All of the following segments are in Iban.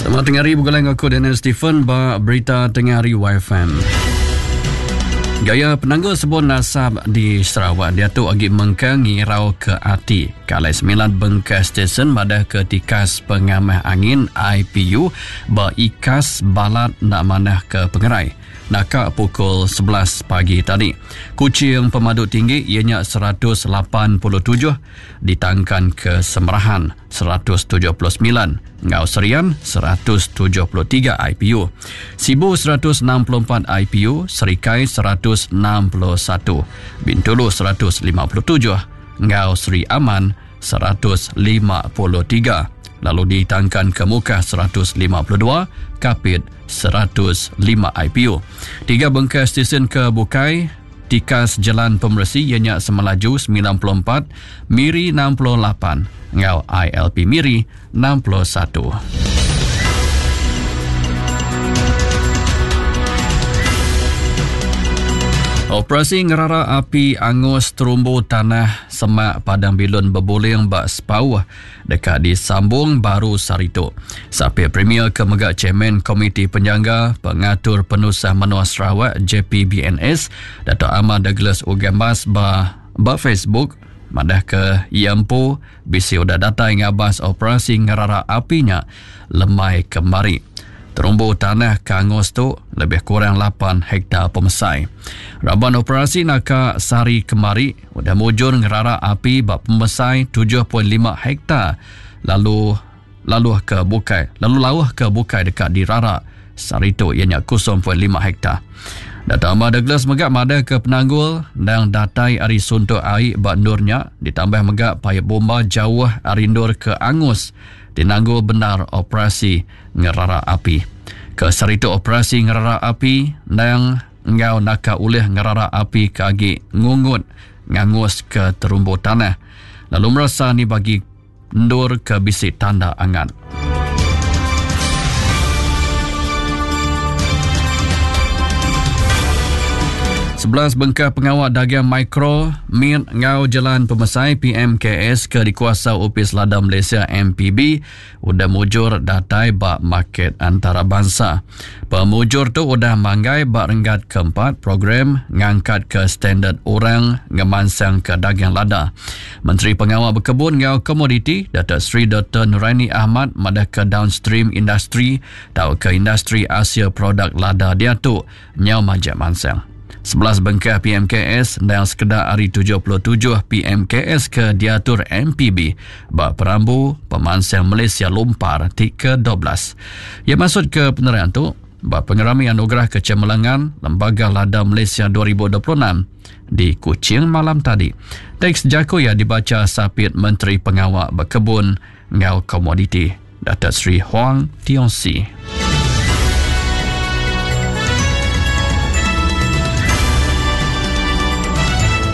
Selamat tengah hari begulai enggau aku Daniel Stephen ba berita tengah hari YFM. Gaya penanggul sebun asap di Sarawak diatu agi mengkang ngirau ke ati. Kalai semilan bengkah stesen madah ke tikas pengamah angin IPU ba ikas balat enda manah ke pengerai. Naka pukul 11 pagi tadi. Kuching pemadu tinggi iya nya 187 ditangkan ke Semerahan 179 enggau Serian 173 IPU. Sibu 164 IPU, Serikai 161, Bintulu 157 enggau Sri Aman 153 lalu ditangkan ke Mukah 152, Kapit 105 IPU. Tiga bengkah stesen ke bukai tikas jelan pemeresi iya nya Semelaju 94, Miri 68 enggau ILP Miri 61. Operasi ngerara api angus terumbu tanah semak Padang Bilun Bebuling ba Sepauh deka disambung baru sehari tu. Sapit Premier ke mega Chairman Komiti Penjangga Pengatur Penusah Menua Sarawak JPBNS Datuk Amar Douglas Uggah Embas ba ba Facebook madahka iya empu bisi udah datai ngabas operasi ngerara api nya lemai kemari. Terumbu tanah ke angus tu lebih kurang lapan hektar pemesai. Raban operasi naka sehari kemari udah mujur ngerara api ba pemesai 7.5 hektar lalu laluh ke bukai lalu lauh ke bukai deka dirara sehari tu iya nya 0.5 hektar. Dato Amar Douglas mega madahka penanggul endang datai ari suntuk ai ba endur nya ditambah mega paip bomba jauh ari endur ke angus ti nanggul bendar operasi ngerara api. Ke sehari tu operasi ngerara api endang enggau naka ulih ngerara api ke agi ngungut nganguska terumbu tanah lalu meresa ni bagi endur ke bisi tanda angat. 11 bengkah pengawa dagang mikro, mit enggau jelan pemesai PMKS ke dikuasa Opis Lada Malaysia MPB udah mujur datai ba market antarabansa. Pemujur tu udah manggai ba renggat keempat program ngangkatka standard orang ngemansangka dagang lada. Menteri Pengawa Bekebun enggau Komoditi, Datuk Seri Doktor Nuraini Ahmad madahka downstream industri tauka industri asil produk lada diatu nyau majak mansang. 11 bengkah PMKS endang sekeda ari 77 PMKS ke diatur MPB ba perambu pemansang Malaysia Lumpar ti ke-12. Iya maksud ke penerang tu ba pengerami Anugerah Kecemerlangan Lembaga Lada Malaysia 2026 di Kuching malam tadi. Teks jaku iya dibacha Sapit Menteri Pengawa Bekebun enggau Komoditi, Datuk Seri Huang Tiong Sii.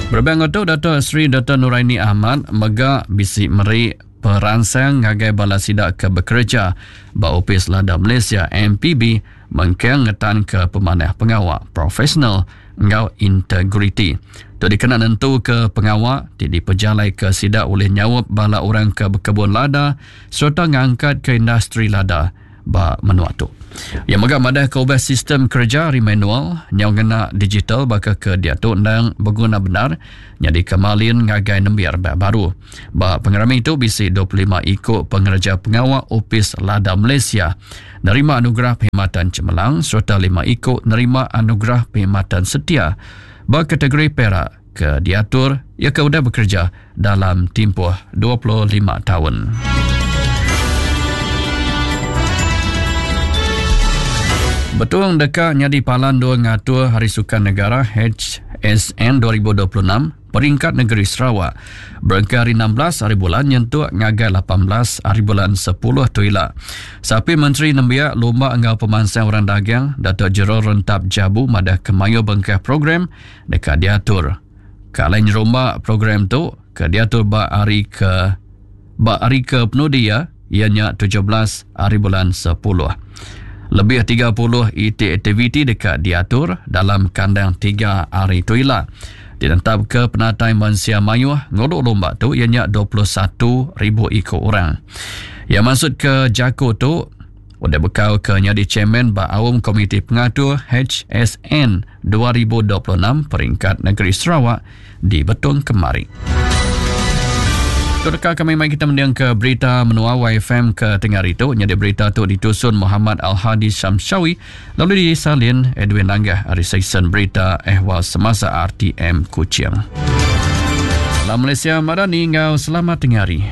Berebak enggau tu, Datuk Seri Doktor Nuraini Ahmad mega bisi meri peransang ngagai bala sida ke bekereja ba Opis Lada Malaysia MPB mengkang ngetanka pemanah pengawa profesional enggau integriti. Tu dikena nentuka pengawa ti dipejalaika sida ulih nyaup bala orang ke bekebun lada sereta ngangkatka industri lada ba menua tu. Iya mega madahka ubah sistem kereja ari manual nyau ngena digital baka ke diatu endang beguna bendar nyadika malin ngagai nembiak rebak baru. Ba pengerami tu bisi 25 iku pengereja pengawa Opis Lada Malaysia nerima Anugerah Perkhidmatan Cemerlang sereta lima iku nerima Anugerah Perkhidmatan Setia ba kategori Perak ke diatur iya ke udah bekereja dalam timpuh 25 taun. Betong deka nyadi palan endur ngatur Hari Sukan Negara HSN 2026 Peringkat Negeri Sarawak berengkah hari 16 hari bulan nyentuk ngagai 18 hari bulan 10 tu ila. Sapi Menteri Nembiak Lumba enggau Pemansang Orang Dagang Datuk Gerald Rentap Jabu madah ke mayuh bengkah program deka diatur. Ke alai nyerumba program tu ke diatur ba hari ke ba hari ke penudi iya iya nya 17 hari bulan 10. Lebih 30 iti aktiviti deka diatur dalam kandang tiga hari tu ila. Ditentapka penatai mensia mayuh ngulu lumba tu iya nya 21,000 iku orang. Iya mansutka jaku tu. udah bekau ke nyadi chairman ba Aum Komiti Pengatur HSN 2026 Peringkat Negeri Sarawak di Betong kemari. Tu deka kami mai kita mending ke berita menua YFM ke tengah hari tu. Nyadi berita tu ditusun Muhammad Al-Hadi Syamsyawi lalu disalin Edwin Langgah ari Seksyen Berita Ehwal Semasa RTM Kuching. Salam Malaysia Madani enggau selamat tengah hari.